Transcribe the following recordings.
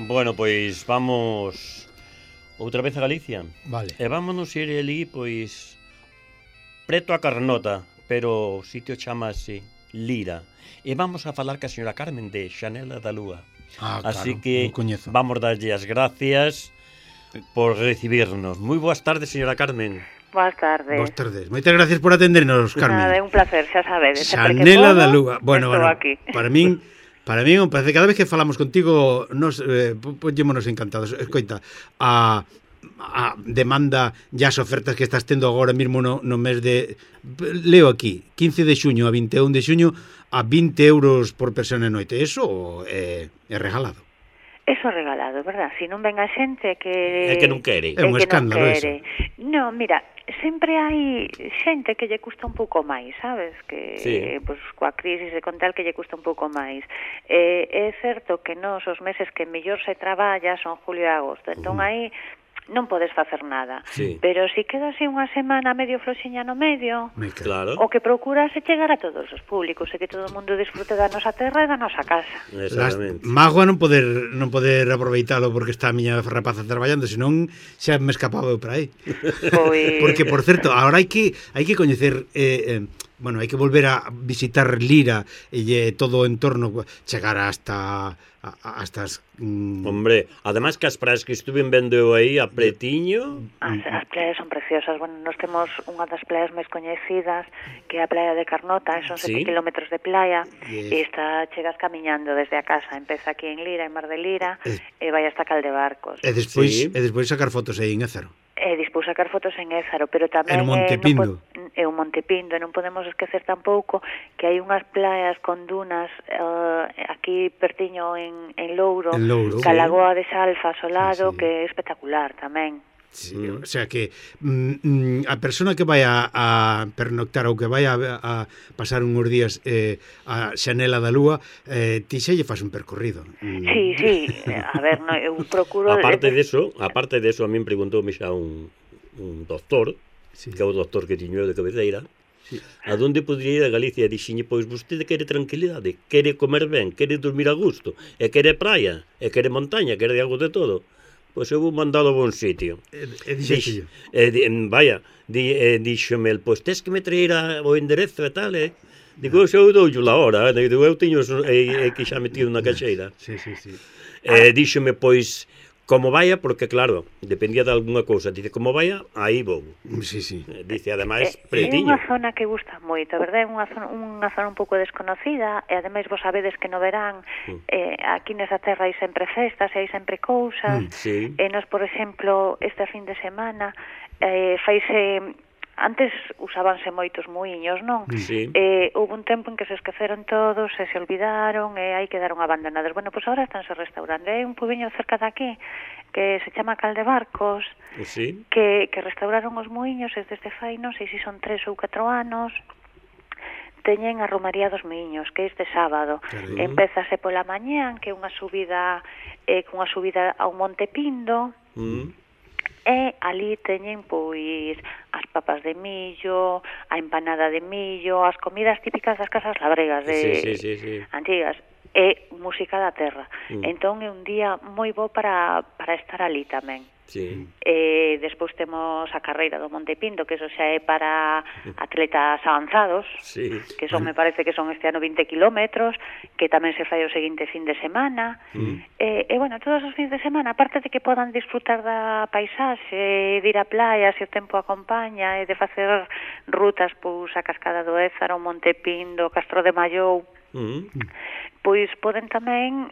Bueno, pois vamos outra vez a Galicia. Vale. E vámonos ir ali, pois, preto a Carnota, pero o sitio chamase Lira. E vamos a falar ca señora Carmen de Xanela da Lúa. Así Claro, que non coñezo. vamos darlle as gracias por recibirnos. Moi boas tardes, señora Carmen. Boas tardes. Boas tardes. Moitas gracias por atendernos, Carmen. Nada, é un placer, xa sabedes. Sempre que Xanela podo, da Lúa. Bueno, estou bueno, aquí. para min parece que cada vez que falamos contigo nos ponllémonos encantados. Escoita, a demanda e as ofertas que estás tendo agora mesmo no mes de, leo aquí, 15 de xuño a 21 de xuño a 20 euros por persona e noite. Eso é regalado. Eso regalado, verdad? Si non ven a xente que... É que non quere. É un escándalo eso. Non, mira, sempre hai xente que lle custa un pouco máis, sabes? Que, sí. Pues, coa crisis e con tal que lle custa un pouco máis. É certo que nos os meses que mellor se traballa son julio e agosto, entón aí non podes facer nada. Sí. Pero si queda así unha semana medio floxiña no medio, Claro. o que procuras é chegar a todos os públicos e que todo o mundo disfrute da nosa terra e da nosa casa. Exactamente. Mágoa non poder aproveitalo porque está a miña rapaza traballando, senón xa me escapaba eu para aí. Pois... Porque, por certo, agora hai que coñecer... bueno, hai que volver a visitar Lira e todo o entorno, chegar hasta as... Hombre, ademais que as praias que estuven vendo eu aí a pretiño... As playas son preciosas. Bueno, nós temos unha das playas máis coñecidas, que é a playa de Carnota, son 7 kilómetros de playa, e chegas camiñando desde a casa, empeza aquí en Lira, en Mar de Lira, e vai hasta Caldebarcos. E despois sacar fotos aí en Ézaro. E dispois sacar fotos en Ézaro, pero tamén en Montepindo. É un Montepindo, e non podemos esquecer tampouco que hai unhas playas con dunas aquí pertiño en Louro, Calagoa de Salfa ao lado, que é espectacular tamén. Sí, o sea que a persona que vai a pernoctar ou que vai a pasar uns días a Xanela da Lúa, ti xa lle faz un percorrido. Sí, a ver, no, eu procuro... Aparte deso, a min preguntoume xa un doctor, que é o doctor que tiño de cabeceira, a donde podría ir a Galicia? E dixiñe, pois vostede quere tranquilidade, quere comer ben, quere dormir a gusto, e quere praia, e quere montaña, quere algo de todo. Pois eu vou mandalo a bon sitio. Díxome, pois tes que me traer o enderezo e tal, Digo, eu doulle la hora, digo, eu tiño que xa metido na caixeira. Díxome, pois, como vaya, porque claro, dependía de alguna cousa, dice, como vaya, aí vou. Dice, ademais, pretiño. É unha zona que gusta moito, a verdade, é unha zona un pouco desconocida, e ademais vos sabedes que no verán aquí nesa terra hai sempre festas, hai sempre cousas, e nos, por exemplo, este fin de semana faise... Antes usábanse moitos muiños, non? Houve un tempo en que se esqueceron todos, se olvidaron e aí quedaron abandonados. Bueno, pois agora estánse restaurando. Hai un pubiño cerca de aquí que se chama Caldebarcos, que restauraron os muiños desde fai, non sei se son 3 ou 4 anos. Teñen a Romaría dos Miños, que é este sábado. Empézase pola mañán, que é unha subida ao Montepindo. E ali teñen, pois, as papas de millo, a empanada de millo, as comidas típicas das casas labregas antigas, e música da terra. Entón é un día moi bo para estar ali tamén. Despois temos a carreira do Montepindo, que eso xa é para atletas avanzados, que son, me parece que son este ano 20 kilómetros, que tamén se fai o seguinte fin de semana. Bueno, todos os fins de semana, aparte de que podan disfrutar da paisaxe, de ir a playa se o tempo acompaña, e de facer rutas pois a Cascada do Ézaro, Montepindo, Castro de Mallou, pois poden tamén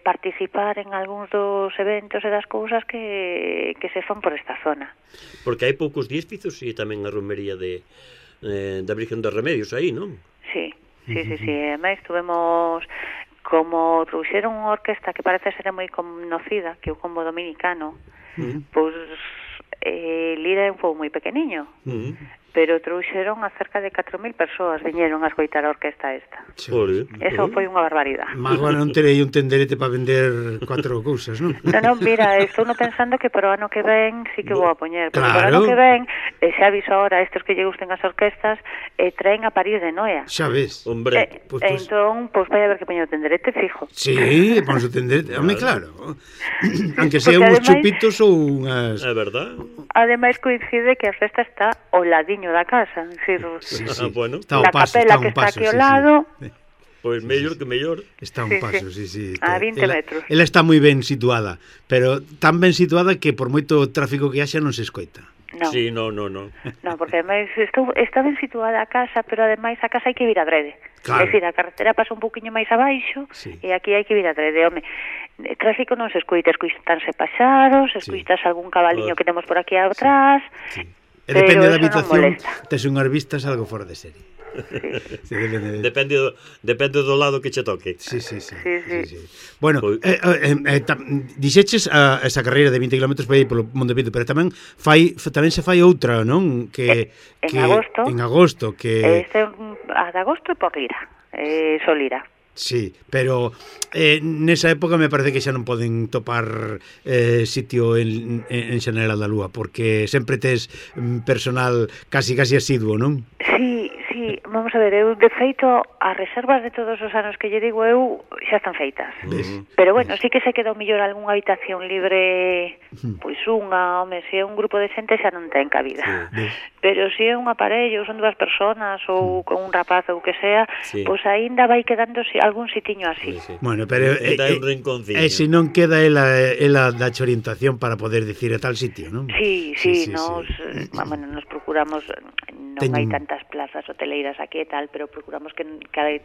participar en algúns dos eventos e das cousas que se fan por esta zona. Porque hai poucos días fíxose tamén a romería da Virgen dos Remedios aí, non? Sí. Ademais, tuvemos, como trouxeron unha orquesta que parece ser moi conocida, que é o Combo Dominicano, pois Lira é un pobo moi pequeniño, pero trouxeron a cerca de 4.000 persoas viñeron a escoitar a orquesta esta. Eso foi unha barbaridade. Mas agora non terei un tenderete para vender 4 cousas, non? Non, mira, estou pensando que para o ano que ven sí que vou a poñer, porque para o ano que ven, xa aviso ahora a estes que lle gusten as orquestas, traen a París de Noia. Xa ves. Hombre. Entón, vai haber que poñer o tenderete fijo. Sí, pon o tenderete, home, claro. Aunque sea uns chupitos ou unhas... É verdad. Ademais coincide que a festa está ao ladiño da casa, bueno, está na capela que está aquí ao lado. Pois mellor que mellor. Está un paso, sí. A 20 metros. Ela está moi ben situada, pero tan ben situada que por moito tráfico que haxa non se escoita. No. Sí, no. No, porque ademais está ben situada a casa, pero ademais a casa hai que vir adrede. Claro. É dicir, a carretera pasa un poquinho máis abaixo e aquí hai que vir adrede. Home, tráfico non se escoita, escoitanse paxaros, escoitas algún cabaliño que temos por aquí atrás. E depende da habitación, tes unhas vistas algo fora de serie. Sí. Depende do lado que che toque. Sí. Bueno, dixeches esa carreira de 20 km para ir polo Monte Pinto, pero tamén se fai outra, non? En agosto. A de agosto é por Lira, Solira. Sí, pero nesa época me parece que xa non poden topar sitio en Xanela da Lúa, porque sempre tes personal casi asiduo, non? Sí, vamos a ver, eu de feito as reservas de todos os anos que lle digo eu xa están feitas. Pero bueno, sí que se queda o mellor algunha habitación libre, pois unha, home, se é un grupo de xente xa non ten cabida. Pero se é un aparello, son 2 personas ou con un rapaz ou que sea, pois aínda vai quedando algún sitiño así. Bueno, pero se non queda ela dache orientación para poder dicir a tal sitio, non? Sí, nos procuramos, non hai tantas plazas hoteleiras aquí e tal, pero procuramos que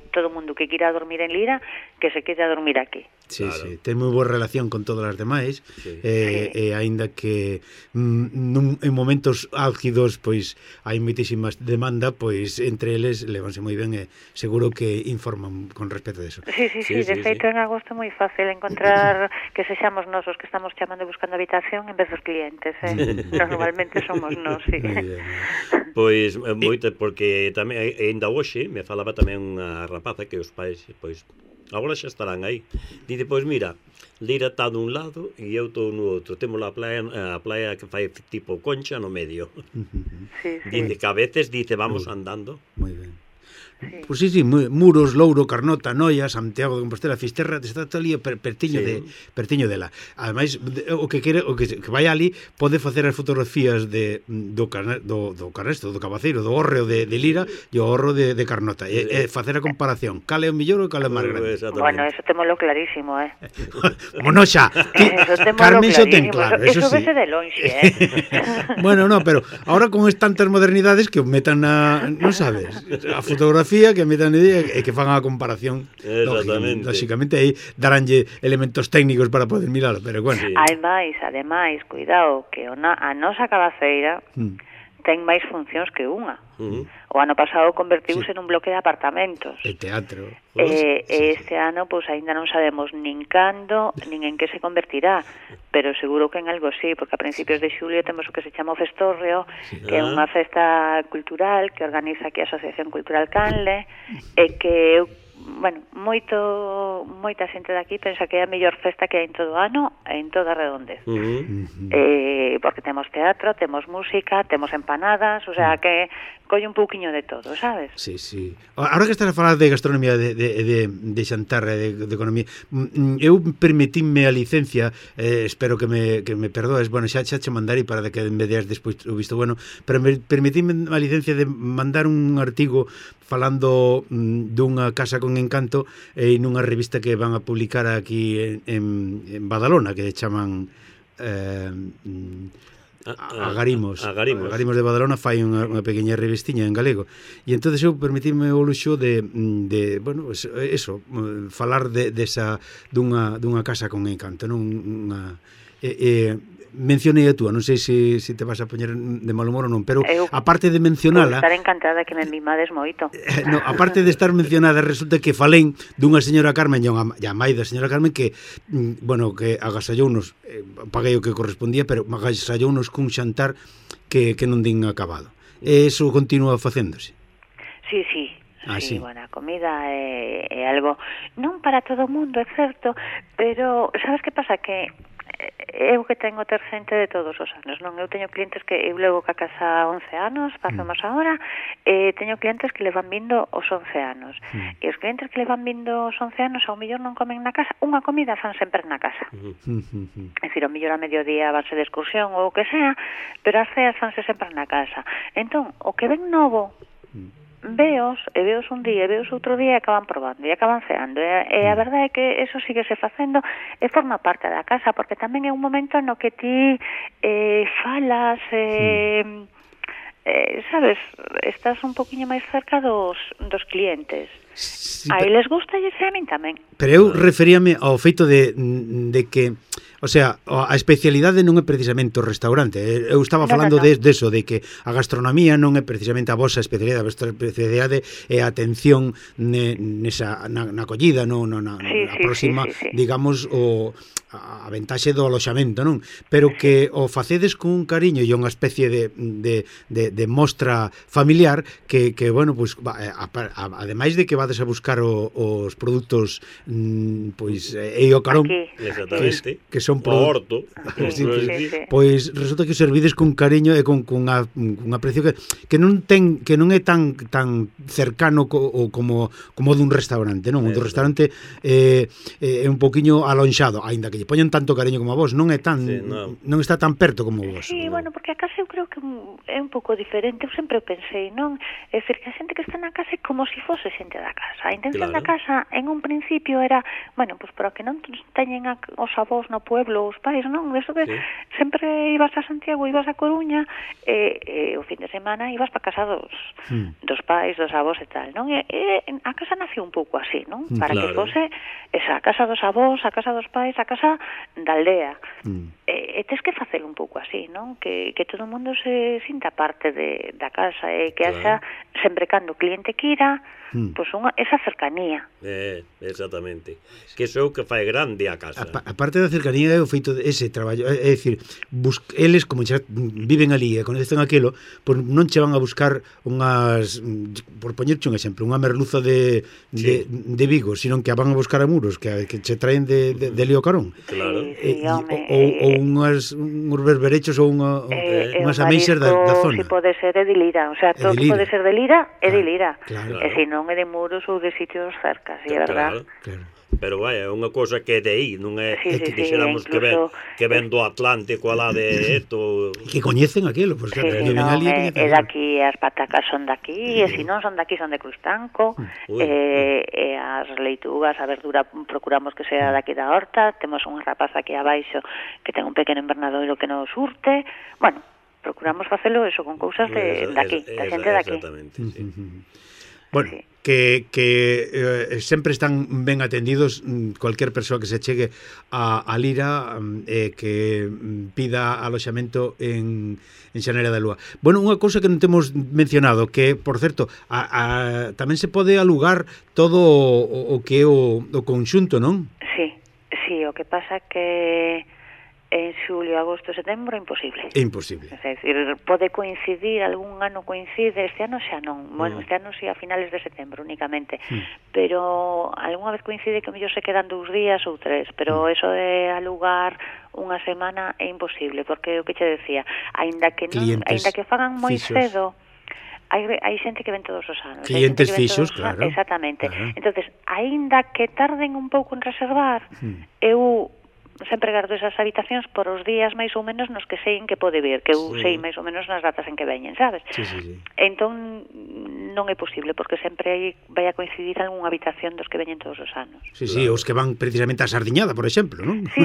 todo o mundo que quira dormir en Lira, que se quede a dormir aquí. Sí, ten moi boa relación con todas as demais, e aínda que en momentos álgidos pois hai moitísimas demanda, pois entre eles levanse moi ben e seguro que informan con respecto de eso. Sí, de feito en agosto é moi fácil encontrar que sexamos nós os que estamos chamando e buscando habitación en vez dos clientes, normalmente somos nós, sí. Pois moito, porque tamén ainda hoxe me falaba tamén unha rapaza que os pais, pois agora xa estarán aí. Dice, pois mira, Lira está dun lado e eu estou no outro. Temos a playa que fai tipo concha no medio. Dice que a veces vamos andando. Moi ben. Pois sí, Muros, Louro, Carnota, Noia, Santiago de Compostela, Fisterra, está todo ali pertiño dela. Ademais, o que vai ali pode facer as fotografías do Carresto, do Cabaceiro, do Hórreo de Lira e o Horro de Carnota, e facer a comparación, cal é o mellor ou cal é o máis grande. Bueno, eso témolo clarísimo, Bueno, xa, Carmen xo ten claro, eso sí. Vese de lonxe, Bueno, pero ahora con tantas modernidades que metan non sabes, a fotografía que metan e que fan a comparación. Lógicamente aí daránlle elementos técnicos para poder miralo, pero bueno. Ademais, cuidado, que a nosa cabaceira ten máis funcións que unha. O ano pasado convertiuse nun bloque de apartamentos. E teatro. Este ano, pois, aínda non sabemos nin cando, nin en que se convertirá, pero seguro que en algo sí, porque a principios de xulio temos o que se chama o Festórreo, que é unha festa cultural que organiza aquí a Asociación Cultural Canle, e que moita xente daqui pensa que é a mellor festa que hai en todo o ano e en toda a redondez. Porque temos teatro, temos música, temos empanadas, o sea que colle un pouquiño de todo, sabes? Sí. Ahora que estás a falar de gastronomía, de xantar, de economía, eu permitime a licencia, espero que me perdoes, bueno, xa che mandarei para que me deas despois o visto bueno, pero permitime a licencia de mandar un artigo falando dunha casa con encanto nunha revista que van a publicar aquí en Badalona, que chaman Agarimos de Badalona, fai unha pequeña revistiña en galego, e entonces eu permitime o luxo de bueno, eso, falar desa dunha casa con encanto, non mencionei a túa, non sei se te vas a poñer de mal humor ou non, pero aparte de mencionala... Estar encantada que me mimades moito. No, aparte de estar mencionada, resulta que falén dunha señora Carmen e a mai da señora Carmen que, bueno, que agasallounos, paguei o que correspondía, pero agasallounos cun xantar que non din acabado. E iso continúa facéndose? Sí, sí, bueno, a comida é algo non para todo o mundo, é certo, pero sabes que pasa? Que eu que tengo ter xente de todos os anos, non? Eu teño clientes que eu levo ca casa 11 anos, pasamos agora, e teño clientes que levan vindo os 11 anos. E os clientes que levan vindo os 11 anos ao mellor non comen na casa, unha comida fan sempre na casa. É dicir, ao mellor a mediodía vanse de excursión ou o que sea, pero as ceas fanse sempre na casa. Entón, o que ven novo veos un día, veos outro día e acaban probando e acaban ceando e a verdade é que eso síguese facendo e forma parte da casa porque tamén é un momento no que ti falas sabes, estás un poquinho máis cerca dos clientes. Sí, a eles gusta e a min tamén. Pero eu referíame ao feito de que, o sea, a especialidade non é precisamente o restaurante. Eu estaba falando de eso, de que a gastronomía non é precisamente a vosa especialidade, a vosa especialidade é a atención na acollida, na próxima, digamos, a ventaxe do aloxamento, non? Pero que o facedes con un cariño e unha especie de mostra familiar que bueno, pues, ademais de que vades a buscar os produtos pois e o carón que son horto, pois resulta que os servides con cariño e con un aprecio que non é tan cercano como dun restaurante, non? O do restaurante é un poquiño alonxado, aínda que lle poñen tanto cariño como a vos, non é tan non está tan perto como vos. Sí, bueno, porque a casa eu creo que é un pouco diferente, eu sempre pensei, non? É dicir, que a xente que está na casa é como se fose xente da casa. A intención da casa en un principio era, bueno, pues para que non teñen os avós no pueblo, os pais, non? Eso que sempre ibas a Santiago, ibas a Coruña e o fin de semana ibas para casa dos pais, dos avós e tal, non? E a casa nació un pouco así, non? Para que fose esa casa dos avós, a casa dos pais, a casa da aldea. E tes que facelo un pouco así, non? Que todo o mundo se sinta parte da casa e que haxa sempre cando o cliente quira, pois esa cercanía. Exactamente. Que iso é o que fai grande a casa. A parte da cercanía é o feito ese traballo, é dicir, eles como xa viven ali e conhecen aquilo, pois non che van a buscar unhas, por poñerche un exemplo, unha merluza de Vigo, sino que a van a buscar a Muros, que che traen de Lío Carón. Claro. Ou uns berberechos ou unhas ameixas da zona. Si pode ser de Lira, o sea, todo pode ser de Lira, é de Lira. E se non é de Muros ou de sitios cercas, é verdad. Claro. Pero vai, é unha cosa que é de aí, non é que dixéramos que ven do Atlántico alá de esto. Que coñecen aquilo, pois claro, que ven ali. É daqui, as patacas son daqui, e se non son daqui son de Crustanco, e as leitugas, a verdura procuramos que sea daqui da horta, temos unha rapaza aquí abaixo que ten un pequeno invernadoiro que nos surte, bueno, procuramos facelo eso con cousas de daqui, da xente daqui. Exactamente, sí. Bueno, que sempre están ben atendidos cualquier persoa que se chegue a Lira que pida aloxamento en Xanera da Lúa. Bueno, unha cousa que non temos mencionado, que, por certo, tamén se pode alugar todo o que é o conxunto, non? Sí, o que pasa que en xulio, agosto, setembro, imposible. É imposible. É dicir, pode coincidir, algún ano coincide, este ano xa non. Bueno, este ano xa a finales de setembro únicamente. Pero algunha vez coincide que mellor se quedan 2 días ou 3, pero eso de alugar unha semana é imposible, porque o que che decía, aínda que fagan moi cedo, hai xente que ven todos os anos. Clientes fixos, claro. Exactamente. Entonces, aínda que tarden un pouco en reservar, eu sempre gardo esas habitacións por os días máis ou menos nos que sei en que pode vir, que eu sei máis ou menos nas datas en que veñen, sabes? Sí. Entón non é posible, porque sempre vai a coincidir algunha habitación dos que veñen todos os anos. Sí, os que van precisamente a Sardiñada, por exemplo, non? Sí.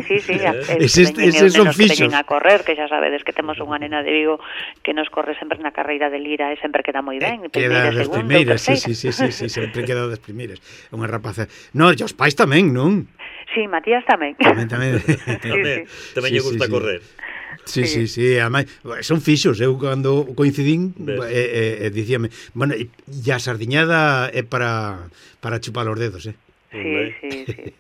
Eses son fixos. Que veñen a correr, que xa sabedes que temos unha nena de Vigo que nos corre sempre na carreira de Lira e sempre queda moi ben. Queda das primeiras, sí, sempre queda das primeiras. Unha rapaza. No, e os pais tamén, non? Sí, Matías tamén. Tamén lle gusta correr. Sí, ademais, son fixos, eu cando coincidín dicíame, bueno, e a sardiñada é para chupar os dedos, Sí.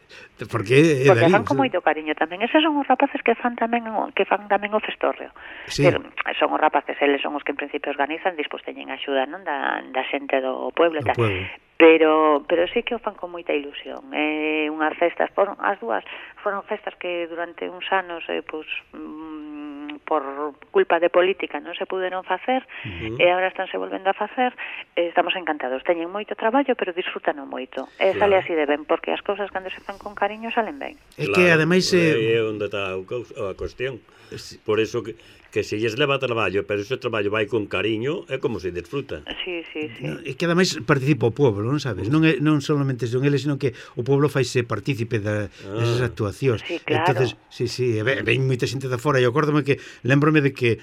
Porque fan con moito cariño tamén. Eses son os rapaces que fan tamén o festórreo. Sí. Pero son os rapaces, eles son os que en principio organizan, despois teñen axuda, non, da xente do pueblo e tal. Pero sí que o fan con moita ilusión. Unhas festas, as dúas foron festas que durante uns anos por culpa de política non se puderon facer, e agora estánse volvendo a facer. Estamos encantados, teñen moito traballo, pero disfrútano moito, e sale así de ben, porque as cousas cando se fan con cariño salen ben. É que ademais é onde está a cuestión. Por eso que se lles leva traballo, pero ese traballo vai con cariño, é como se disfruta. Sí. É que ademais participa o pueblo, non sabes? Non solamente son eles, sino que o pueblo faise partícipe desas actuacións. Sí, claro. Entonces, ven moita xente de fora, e acórdome que lembrome de que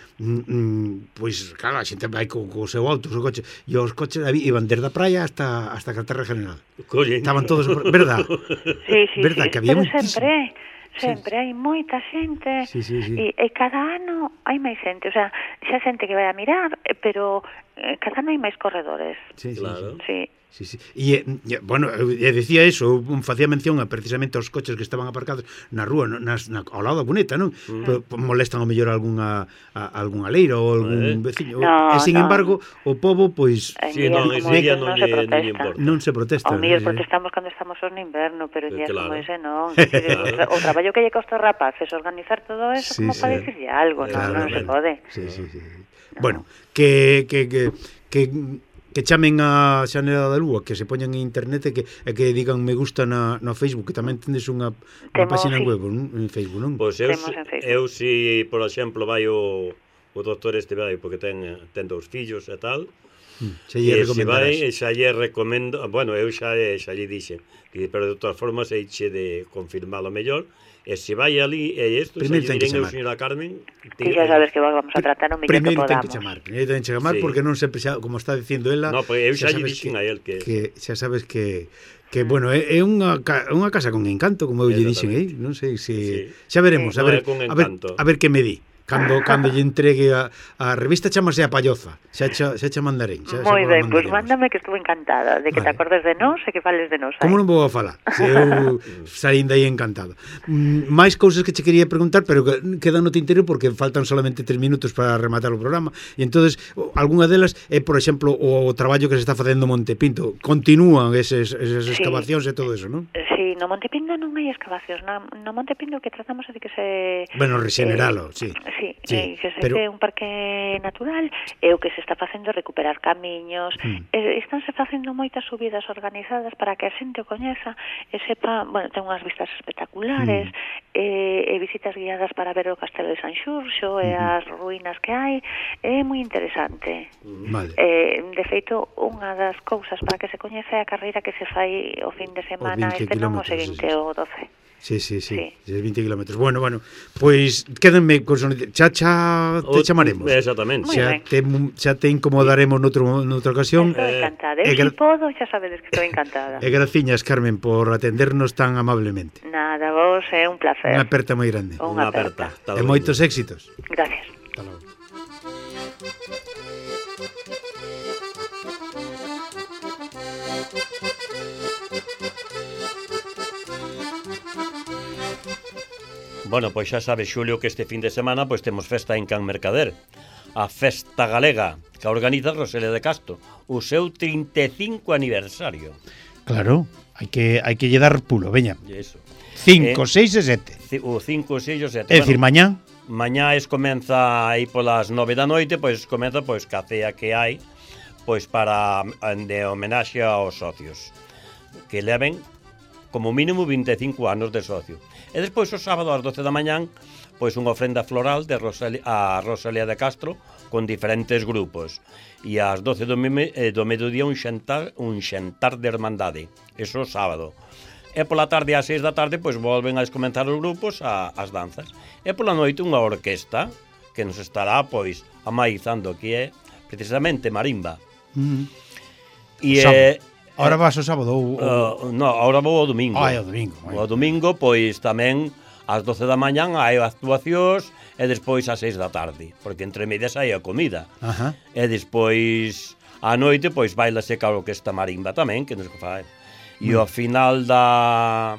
pois, claro, a xente vai co seu auto, o seu coche, e os coches iban desde a praia hasta a Carretera General. Estaban todos, verdad? Sí, verdad, que había sempre hai moita xente e cada ano hai máis xente, o sea, xa xente que vai a mirar, pero cada ano hai máis corredores. Claro. Sí. E, bueno, decía eso, facía mención precisamente aos coches que estaban aparcados na rúa, ao lado da cuneta, non? Molestan ao mellor algunha leira ou algún veciño. E, sin embargo, o pobo, pois... Non se protesta. Ao mellor protestamos cando estamos no inverno, pero días como ese non. O traballo que lle costa aos rapaces organizar todo eso, como para dicirlle algo, non se pode. Bueno, que chamen a Xanela da Lúa, que se poñan en internet e que digan me gusta no Facebook, que tamén tendes unha página web en Facebook, non? Pois eu si, por exemplo, vai o doutor vai, porque ten 2 fillos e tal, se lle recomendarás. Xa lle recomendo, bueno, eu xa lle dixe, pero de todas formas eiche de confirmalo mellor. E se vai ali, e isto, se lle diren eu, señora Carmen... Ti xa sabes que vamos a tratar o mellor que podamos. Primeiro ten que chamar, porque non sempre, como está dicindo ela... No, pois eu xa lle dixen a él que xa sabes que bueno, é unha casa con encanto, como eu lle dixen, non sei se... Xa veremos, a ver que me di. Cando lle entregue a revista, chamase A Palloza, xa mandarén. Moi ben, pois mándame, que estuve encantada de que te acordes de nós e que fales de nós. Como non vou a falar? Se eu saín dai encantado. Máis cousas que che quería preguntar, pero quedan no tintero porque faltan solamente 3 minutos para rematar o programa, e entonces algunha delas é, por exemplo, o traballo que se está facendo Monte Pinto. Continúan esas excavacións e todo eso, non? Sí, no Monte Pinto non hai excavacións. No Monte Pinto que tratamos é de que se... Bueno, regeneralo, sí. Que se é un parque natural, e o que se está facendo é recuperar camiños, estánse facendo moitas subidas organizadas para que a xente o coñeza e sepa, bueno, ten unhas vistas espectaculares, e visitas guiadas para ver o Castelo de San Xurxo e as ruínas que hai, é moi interesante. Vale. De feito, unha das cousas para que se coñece é a carreira que se fai o fin de semana, este non o seguinte, o 12. Sí, 20 kilómetros. Bueno, pois quédenme con xa te chamaremos. Exactamente. Xa te incomodaremos noutra ocasión. Estou encantada. Se podo, xa sabedes que estou encantada. E graciñas, Carmen, por atendernos tan amablemente. Nada, vos é un placer. Unha aperta moi grande. Unha aperta. E moitos éxitos. Gracias. Hasta logo. Bueno, pois xa sabes, Xulio, que este fin de semana pois temos festa en Can Mercader. A Festa Galega, que organiza Rosalía de Castro, o seu 35 aniversario. Claro, hai que lle dar pulo, veña. 5, 6 e 7. O 5, 6 e 7. É dicir, mañá? Mañá comeza aí polas 9 da noite, pois comeza ca cea que hai, pois para de homenaxe aos socios, que leven como mínimo 25 anos de socio. E despois o sábado ás 12 da mañán, pois unha ofrenda floral de a Rosalía de Castro con diferentes grupos. E ás 12 do mediodía un xantar de hermandade. Eso sábado. E pola tarde ás 6 da tarde pois volven a comenzar os grupos as danzas. E pola noite unha orquesta que nos estará pois amaizando, que é precisamente marimba. E ahora vas o sábado ou... No, ahora vou ao domingo. O domingo. O domingo, pois, tamén ás 12 da mañán hai actuacións e despois ás 6 da tarde, porque entre medias hai a comida. E despois a noite pois bailase claro que esta marimba tamén, que nos fai. E ao final da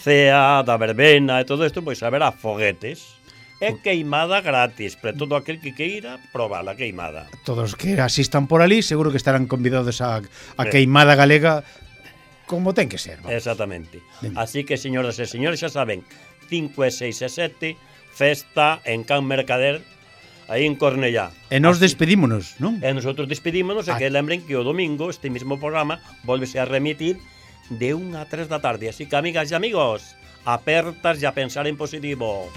cea, da verbena e todo isto, pois haberá foguetes. É queimada gratis, para todo aquel que queira probar a queimada. Todos que asistan por ali seguro que estarán convidados a queimada galega como ten que ser. Vamos. Exactamente. Así que, señoras e señores, xa saben, 5, 6 e 7, festa en Can Mercader, aí en Cornellá. E nos despedímonos, non? E nosotros despedímonos, e que lembren que o domingo este mismo programa volvese a remitir de 1 a 3 da tarde. Así que, amigas e amigos, apertas e a pensar en positivo.